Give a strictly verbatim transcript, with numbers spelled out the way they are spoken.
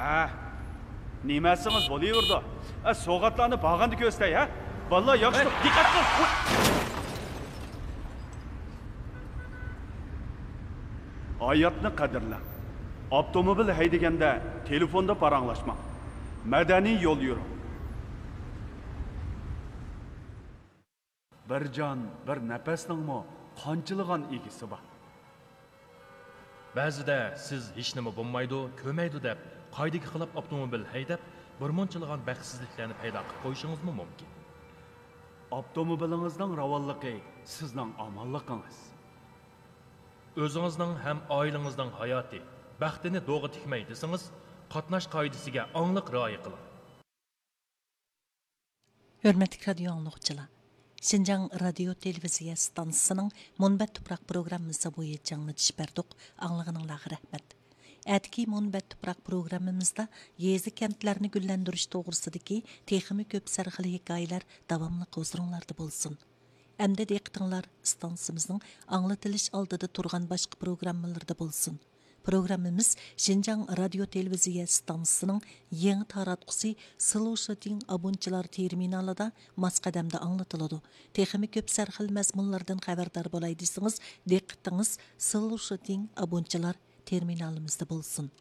ھە، نېمە ئەسىڭىز بولۇۋېرىدۇ. ئە، سوۋغاتلارنى بارغاندا كۆرسىتەي، ھە؟ بالىلار ياخشى. ھەي، دىققەت قىل! ھاياتنى قەدىرلەڭ. ئاپتوموبىل ھەيدىگەندە تېلېفوندا پاراڭلاشماڭ. مەدەنىي يول يۈرۈڭ. بىر جان، بىر نەپەسنىڭمۇ قانچىلىغان ئىگىسى بار. بەزىدە سىز ھېچنېمە بولمايدۇ، كۆرمەيدۇ دەپ، قائىدىگە خىلاپ ئاپتوموبىل ھەيدەپ، بىرمۇنچىلىغان بەختسىزلىكلەرنى پەيدا قىلىپ قويۇشىڭىزمۇ مۇمكىن. ئاپتوموبىلىڭىزنىڭ راۋانلىقى سىزنىڭ ئامانلىقىڭىز. ئۆزىڭىزنىڭ ھەم ئائىلىڭىزنىڭ ھاياتى، بەختىنى دوغا تىكمەي دېسىڭىز، قاتناش قائىدىسىگە ئاڭلىق رىئايە قىلىڭ. ھۆرمەتلىك رادىيو ئاڭلىغۇچىلار! شىنجاڭ رادىيو تېلېۋىزىيە ئىستانسىسىنىڭ مۇنبەت تۇپراق پروگراممىسى بويىچە ئاڭلىتىش بەردۇق، ئاڭلىغىنىڭلارغا رەھمەت. ئەتىكى مۇنبەت تۇپراق پروگراممىمىزدا يېزا، كەنتلەرنى گۈللەندۈرۈش توغرىسىدىكى تېخىمۇ كۆپ سەرخىل ھېكايىلەر داۋاملىق ھۇزۇرۇڭلاردا بولسۇن. ئەمدى دىققىتىڭلار ئىستانسىمىزنىڭ ئاڭلىتىلىش ئالدىدا تۇرغان باشقا پروگراممىلىرىدا بولسۇن. پروگراممىمىز شىنجاڭ رادىيو تېلېۋىزىيە ئىستانسىسىنىڭ يېڭى تاراتقۇسى سلوشىتىڭ ئابۇنچىلار تېرمىنالىدا ماس قەدەمدە ئاڭلىتىلىدۇ. تېخىمۇ كۆپ سەرخىل مەزمۇنلاردىن خەۋەردار بولاي دېسىڭىز، دىققىتىڭىز سلوشىتىڭ ئابۇنچىلار تېرمىنالىمىزدا بولسۇن.